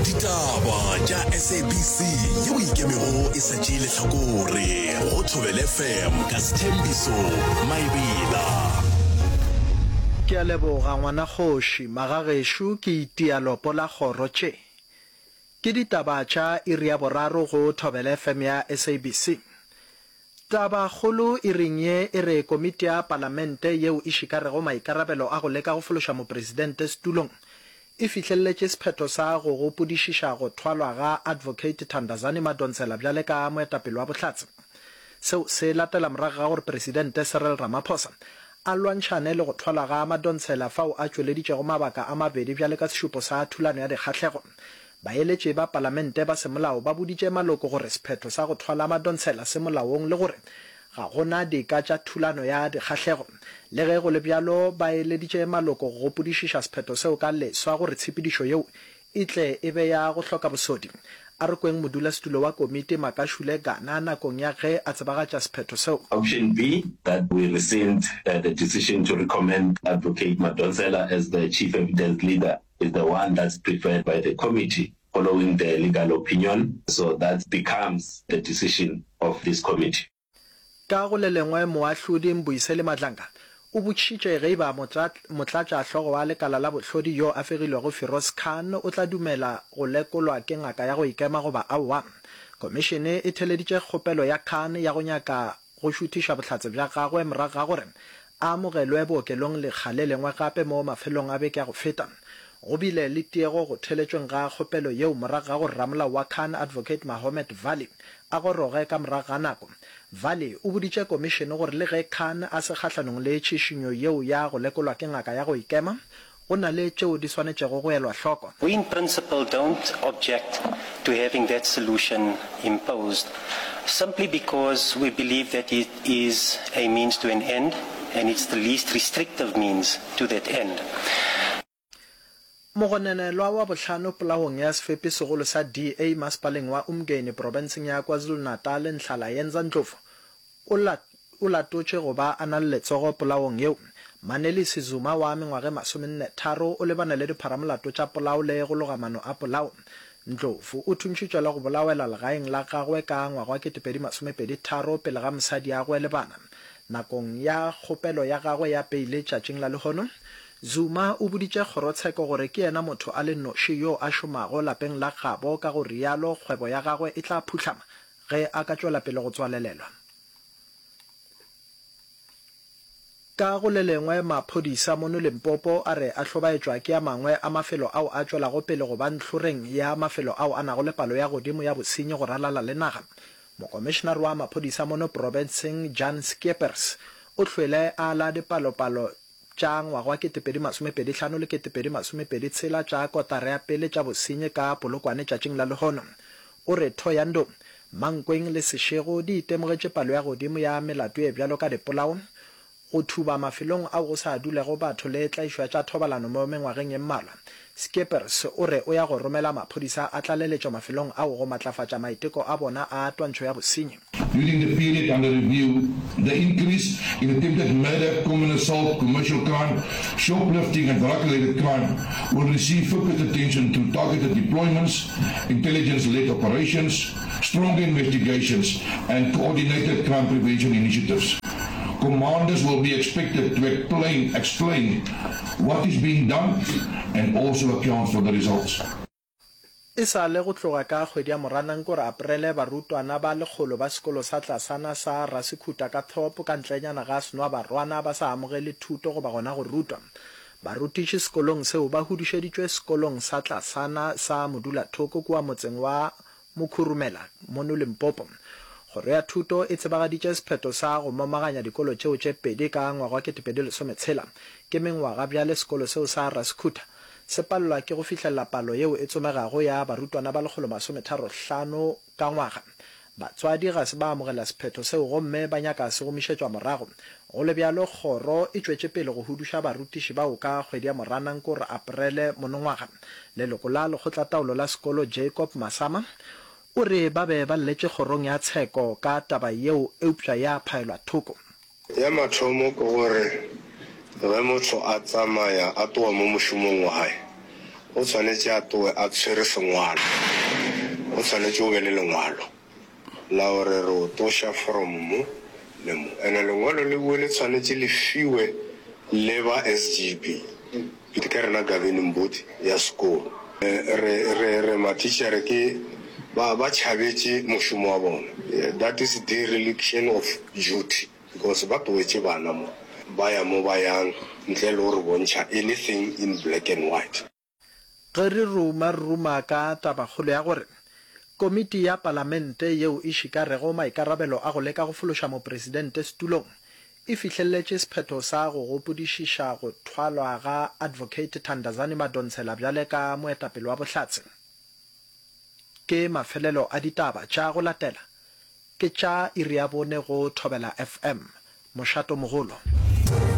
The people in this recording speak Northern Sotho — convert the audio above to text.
Ditaba tša SABC yeo e ikemego e sa tšee lehlakore go Thobela FM ka Sthembiso Maebela. Ke a leboga ngwana kgoši, magagešo ke itia lopo la kgoro tše. Ke ditaba tša iri ya boraro go Thobela FM ya SABC. Tabakgolo iring ye e re komiti ya palamente yeo e šikarego maikarabelo a go leka go fološa mopresidente setulong e fihleletše sephetho sa go gopodišiša go thwalwa ga Advocate Thandazani Madonsela bjale ka moetapele wa bohlatse. Seo se latela morago ga gore Presidente Cyril Ramaphosa a lwantšhane le go thwalwa ga Madonsela fao a tšweleditšego mabaka a mabedi bjale ka sešupo sa thulano ya dikgahlego. Baeletši ba palamente ba semolao ba boditše maloko gore sephetho sa go thwala Madonsela se molaong le gore ga go na dika tša thulano ya dikgahlego. Le ge go le bjalo, ba eleditše maloko go gopodišiša sephetho seo ka leswa gore tshepedišo yeo e tle e be ya go hloka bosodi. A re kweng modulasetulo wa komiti Makashule Gana nakong ya ge a tsebagatša sephetho seo. Option B, that we rescind the decision to recommend Advocate Madonsela as the Chief Evidence Leader is the one that's preferred by the committee following the legal opinion, so that becomes the decision of this committee. Ka go le lengwe, Moahlodi Mbuyiseli Madlanga o botšišitše ge e ba motlatšahlogo wa lekala la bohlodi yo a fegilwego Firoz Khan o tla dumela go lekolwa ke ngaka ya go ikema goba aowa. Khomišene e theleditše kgopelo ya Khan ya go nyaka go šuthiša bohlatse bja gagwe morago ga gore a amogelwe bookelong lekga le lengwe gape mo mafelong a beke ya go feta. Go bile le tiego go theletšweng ga kgopelo yeo morago ga gore ramolao wa Khan, Advocate Mahomed Vally, a goroge ka morago ga nako. Vally o boditše komišene gore le ge Khan a se kgahlanong le tšhišinyo yeo ya go lekolwa ke ngaka ya go ikema, go na le tšeo di swanetšego go elwa hloko. We in principle don't object to having that solution imposed simply because we believe that it is a means to an end and it's the least restrictive means to that end. Mogononelwa wa bohlano polaong ya sefepi segolo sa DA masepaleng wa Umgeni profenseng ya KwaZulu-Natal Nhlalayenza Ndlovu o o latotše go ba a na le letsogo polaong yeo. Manelisi Zuma wa mengwaga e masomennetharo o lebane le dipharamolato tša polao le go loga mano a polao. Ndlovu o thuntšhitšwe le go bolawela legaeng la gagwe ka ngwaga wa 2023 pele ga mosadiagwe le bana. Nakong ya kgopelo ya gagwe ya peile tšatšing la lehono, Zuma o boditše kgorotsheko gore ke yena motho a le noši yo a šomago lapeng la gabo ka go realo kgwebo ya gagwe e tla phuhlama ge a ka tšwela pele go tswalelelwa. Ka go le lengwe, maphodisa mono Limpopo a re a hlobaetšwa ke a mangwe a mafelo ao a tšwelago pele go ba ntlhoreng ya mafelo ao a nago le palo ya godimo ya bosenyi go ralala le naga. Mokomišenare wa maphodisa mono profenseng Jan Scheepers o hlwele a ala dipalopalo tša ngwaga wa 2025 le 2026 tša kotara ya pele tša bosenyi ka Polokwane tšatšing la lehono. O re Thohoyandou, Mankweng le Seshego di itemogetše palo ya godimo ya melato ye bjalo ka dipolao, go thuba mafelong ao go sa dulego batho le tlaišo ya tša thobalano mo mengwageng ye mmalwa. Scheepers o re o ya go romela maphodisa a tlaleletšo mafelong ao go matlafatša maiteko a bona a twantšho ya bosenyi. During the period under review, the increase in attempted murder, common assault, commercial crime, shoplifting and drug-related crime will receive focused attention through targeted deployments, intelligence-led operations, stronger investigations and coordinated crime prevention initiatives. Commanders will be expected to explain, explain what is being done and also account for the results. E sa le go tloga ka kgwedi ya Moranang kore Aprele barutwana ba lekgolo ba sekolo sa tlasana sa Rasekhuta ka Thorpe ka ntlenyana ga Senwabarwana ba sa amogele thuto goba gona go rutwa. Barutiši sekolong seo ba hudušeditšwe sekolong sa tlasana sa Modulathoko kua motseng wa Mokhurumela mono Limpopo. Kgoro ya Thuto e tsebagaditše sephetho sa go momaganya dikolo tšeo tše pedi ka ngwaga wa 2016. Ke mengwaga bjale sekolo seo sa Rasekhuta se palelwa ke go fihlelela palo yeo e tsomegago ya barutwana ba 135 ka ngwaga. Batswadi ga se ba amogela sephetho seo gomme ba nyaka se gomišetšwa morago. Go le bjalo, kgoro e tšwetše pele go huduša barutiši bao ka kgwedi ya Moranang kore Aprele monongwaga. Leloko la lekgotlataolo la sekolo Jacob Masama o re ba be ba lletše kgorong ya tsheko ka taba yeo eupša ya phaelwa thoko. Ya mathomo ke gore ge motho a tsamaya a tloga mo mošomong wa hae. O tshwanetše a tloge a tshwere sengwalo. O tshwanetše o be le lengwalo la gore re o tloša from mo le mo. Ene lengwalo lewe le tshwanetše le fiwe le ba SGB. Ke rena governing body ya sekolo. Re, re, re matitšhere ke ba, ba tšhabetše mošomo wa bona. That is dereliction of duty because ba tlogetše bana mo, ba ya mo ba yang ntle le go re bontšha anything in black and white. Ge re ruma, re ruma ka tabakgolo ya gore Komiti ya Palamente yeo e šikarego maikarabelo a go leka go fološa Mopresidente setulong e fihleletše sephetho sa go gopodišiša go thwalwa ga Advocate Thandazani Madonsela bjale ka moetapele wa bohlatse. Ke mafelelo a ditaba tša go latela ke tša iri ya bone go Thobela FM, mošato mogolo.